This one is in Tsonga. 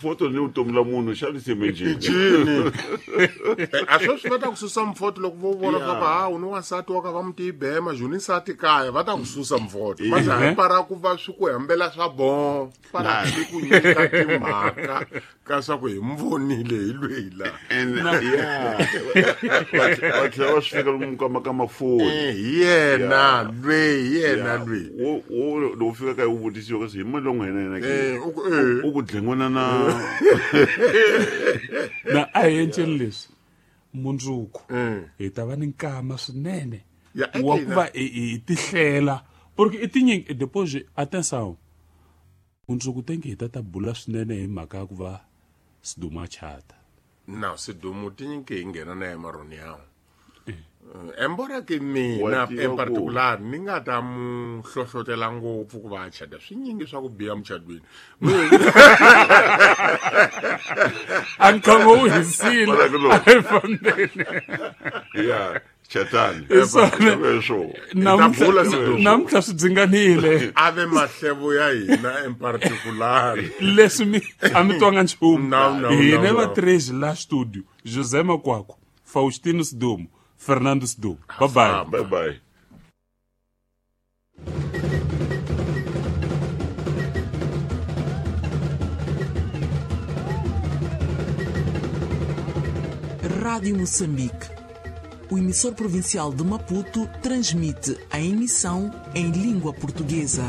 Foto ni vutomi la munhu xa liseme njhini. Njhini a sweswi va ta ku susa mfoto loko vo vona swa ku ha u ni wansati wa ka va muti ibema juni nsati kaya va ta ku susa mfoto va za hi para ku va swi ku hambela swa bon para swi ku nyika timhaka ka swa ku hi mi vonile hi lweyi la. And yeah, va tlhela va swi fika lomu ka mafoni. Hi yena lweyi, hi yena lweyi. Wo loko fika kaya u vutisiwa kasi hi mali longo yena ke. U ku. U ku dlengwana na. Na a hi enceni leswi mundzuku hi ta va ni nkama swinene wa ku va hi tihlela porque i tinyingi depois atenção mundzuku tenke hi ta bula swinene hi mhaka ya ku va Sidumo a chata. Na Sidumo tinyingi hi nghena na emaroni yawo. Embora ke mina in particular ni nga ta mu hlohlotela ngopfu ku va a chata swinyingi swa ku biha muchadweni. A nkama wu hisile a hi fambeni. Yeah, chatani. Namuntlha swi dzinganile. A ve mahlevo ya hina in particular. Leswi mi a mi twanga nchumu. Hina va Trace la studio, José Makwakwa, Faustino Sidumo, Fernando Sidumo. Bye bye. Bye bye. Rádio Moçambique. O emissor provincial de Maputo transmite a emissão em língua portuguesa.